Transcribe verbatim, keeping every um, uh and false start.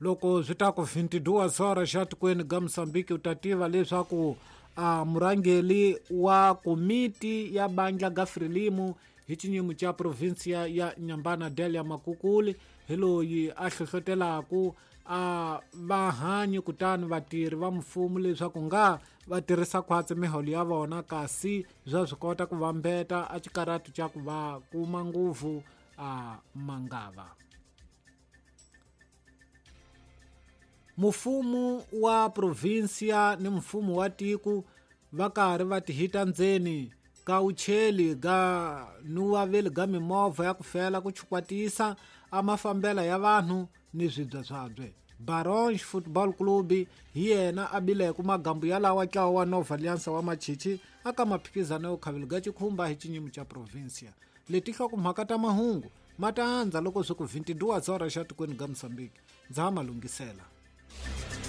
Loko swi ta ku vinte e duas horas xa tikweni ga Moçambique, u ta tiva leswaku a murhangeri wa komiti ya bandla ga Frelimo hi xinyimo xa provinsia ya Nyambana, Delia Makukuli, hi loyi a hlohlotelaku a vahanyi kutani vatirhi va mfumo leswaku nga va tirhisa khwatsi miholo ya vona, kasi bya swi kota ku vambeta a xikaratu xa ku va kuma nguvu a mangava. Mfumo wa provinsia ni mfumo wa tiko va karhi va tihita ndzeni ka ucheli ga nuwaveli ga mimovha ya ku fela ku chukwatisa a mafambela ya vanhu ni swibya swabye. Baronge Football Club hi yena a bileke magambu yalawa ntlawa wa Nova Aliança wa Machichi aka maphikizano yo khaveli ga xikhumba hi xinyimo xa provinsia. Leti nhlokomhaka ta mahungu ma ta andza loko swi ku vinte e duas horas xa tikweni ga Moçambique. Ndza ha ma lunghisela.